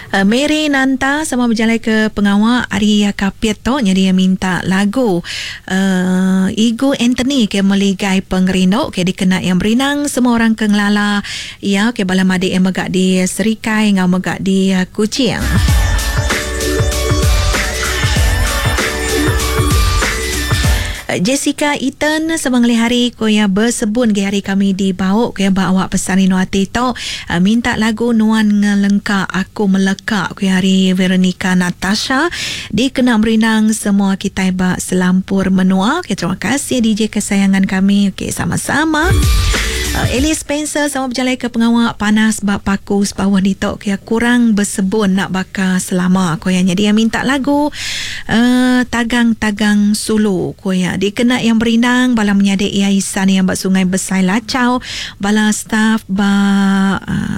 Mary Nanta sama bejalai ke pengawa ari Kapit tu nyadi iya minta lagu uhh Igu Anthony ke Meligai Pengerindu ke dikena iya merindang semua orang ke ngelala iya ke bala madik iya mega di Serikai enggau mega di Kuching. Jessica Ethan sama ngelih hari ku iya besebun agi hari kami di Bau ku iya ba awak pesan rindu ati tu minta lagu Nuan Ngelengka Aku Meleka ku iya ari Veronica Natasha dikena merindang semua kitai ba selampur menua. Okay, terima kasih DJ kesayangan kami. Okay, sama-sama. Alice Spencer sama bejalai ke pengawa panas ba Paku Sepauh ditu ku iya kurang besebun enda baka selama ku iya. Nyadi iya minta lagu Tagang-tagang sulu, ku iya. Dikena iya merindang bala menyadi iya isan iya ba Sungai Besai Lachau, bala staf ba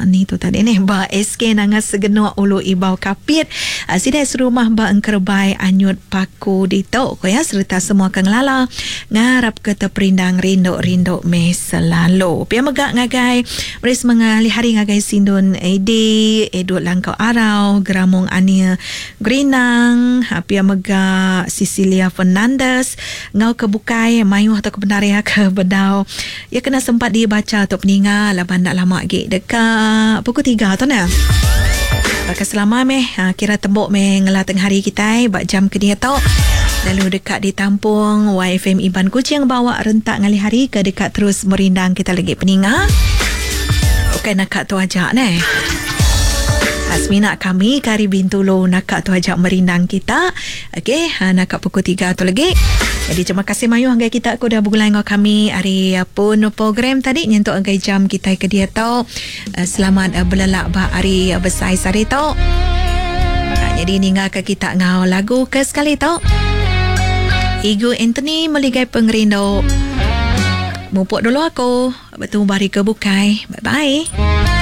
ni tu tadi nih ba SK Nanga Segenuk Ulu Ibau Kapit, sida serumah ba Engkerebai Anyut Paku ditu, ku iya sereta semua ke ngelala ngarapka teperindang rindu-rindu meh selalu. Pia mega ngagai meri semengalih hari ngagai Sindun Edi, Edward Langkau Arau, Geramung Anie Gerinang, pia mega Cecilia Fernandez enggau ke bukai mayuh tu ke bendar iya ke bedau iya kena sempat dibacha tu peninga laban enda lama agi deka pukul tiga tu neh. Baka selama meh kira tembu meh ngela tengah hari kitai ba jam ke diatu lalu deka ditampung YFM Iban Kuching bawa rentak ngalih hari ke deka terus merindang kita lagi peninga. Ukai naka tu aja neh. Semina kami ke ari Bintulu naka tu aja merindang kita. Okey, naka pukul tiga tu lagi. Jadi terima kasih mayuh ngagai kita ke udah begulai enggau kami ari pun program tadi nyentuk ngagai jam kitai ke diatu. Selamat belelak ba hari besai sehari tu. Jadi ninggalka kita enggau lagu ke sekali tu. Igu Anthony Meligai Pengerindu. Mupuk dulu aku. Betemu ba hari ke bukai. Bye bye.